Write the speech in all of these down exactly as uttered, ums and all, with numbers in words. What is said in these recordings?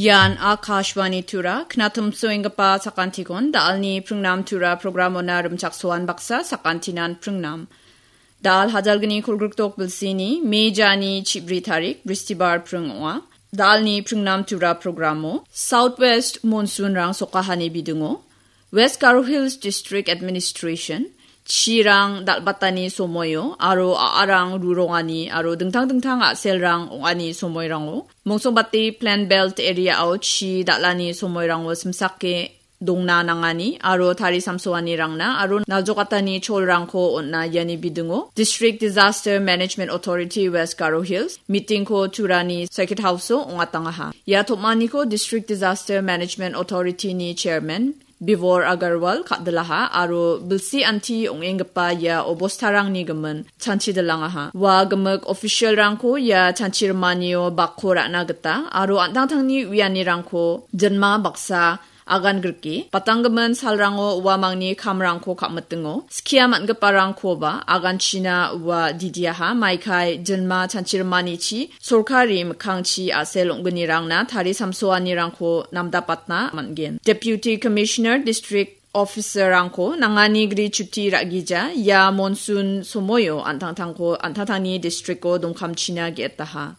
Ian Akashvani Tura, knatumsoenggipa sakantikon, da·alni pringnam Tura programona rimchaksoan baksa sakantinan pringnam. Da·al hajalgni kolgrikdok bilsini, Mejani chibri tarik, Bristibar pring ong·a. Da·alni pringnam Tura programo, Southwest monsoonrang sokahani bidingo, West Garo Hills District Administration, chirang dal·batani somoio, aro a·arang rurongani, aro dingtang dingtang a·selrang ong·ani somoirango, mongsongbate Plain Belt area-o chi dal·ani somoirango simsake dongna nangani, aro tari samsoanirangna, aro naljokatani cholrangko on·a iani bidingo, District Disaster Management Authority West Garo Hills, meetingko Turani Circuit House-o ong·atangaha. Ia tom·aniko District Disaster Management Authority-ni Chairman, Bivor Agarwal ka·dilaha aro bilsi anti ong·enggipa ia obostarangni gimin chanchidilangaha. Ua gimik official-rangko ia chanchirimanio bakko ra·na gita aro an·tangtangni uianirangko jinma baksa agan grike, batanggimin salrango uamangni kamrangko ka·mitingo, skia man·giparangkoba aganchina ua didiaha, maikai jinma chanchirimanichi sorkari mikkangchi a·sel ong·gnirangna tari samsoanirangko namdapatna man·gen. Deputy Commissioner, District Officer-rangko nangani gri chuti ra·gija, ia monsoon somoio an·tangtangko, an·tangtangni district-o dongkamchina ge·etaha.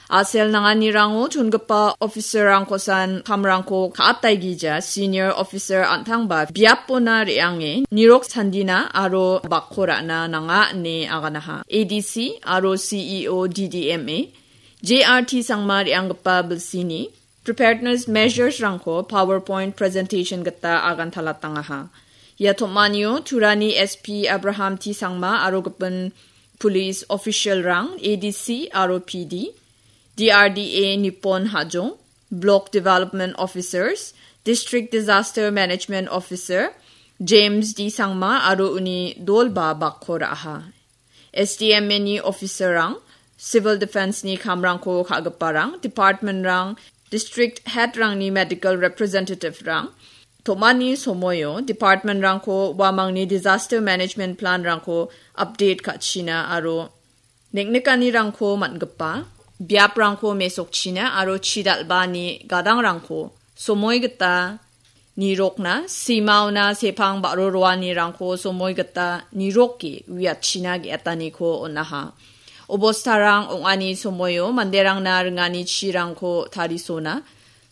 A·sel nanganirango chongipa officer-rangkosan kamrangko ka·ataigija, senior officer an·tangba biapona re·ange nirok sandina aro bakko ra·na nanga ine aganaha. A D C aro C E O D D M A, J R T Sangma re·anggipa bilsini preparedness measures-rangko PowerPoint presentation gita agantalatangaha. Ia tom·anio Turani S P Abraham T Sangma aro gipin police official-rang, A D C aro P D, D R D A Nippon Hajong, Block Development Officers, District Disaster Management Officer James D Sangma aro uni dolba bakko ra·aha. S D M A-ni officer-rang, Civil Defense-ni kamrangko ka·giparang, department-rang, district head-rangni medical representative-rang, tom·ani somoio department-rangko uamangni disaster management plan-rangko update ka·china aro neng·nikanirangko man·gipa biaprangko mesokchina aro chidal·bani gadangrangko somoi gita nirokna, simaona sepang ba·ro roanirangko somoi gita niroke uiatchina ge·etaniko on·aha. Obostarang ong·ani somoio manderangna ringani chirangko tarisona,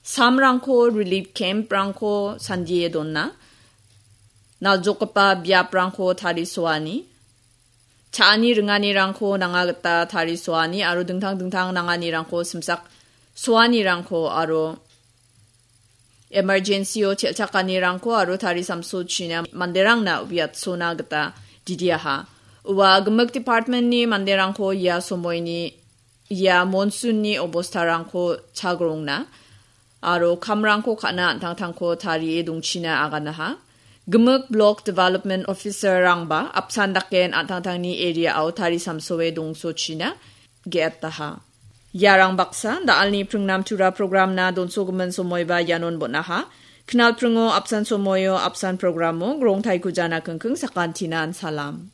samrangko relief camp-rangko sandie dona, naljokgipa biaprangko tarisoani, cha·ani ringanirangko nanga gita tarisoani aro dingtang dingtang nanganirangko simsak soanirangko aro emergency-o chel·chakanirangko aro tarisamsochina manderangna uiatsona gita didiaha. Ua gimik department-ni manderangko ia somoini ia monsoon-ni obostarangko chagrongna aro kamrangko ka·na an·tangtangko tarie dongchina aganaha. Gimik Block Development Officer-rangba apsan daken an·tangtangni area-o tarisamsoe dongsochina ge·etaha. Iarang baksa da·alni pringnam tura program-na donsogimin somoiba ianon bon·aha. Knal pringo apsan somoio apsan programo grongtaiko jana kingking sakantinan salam.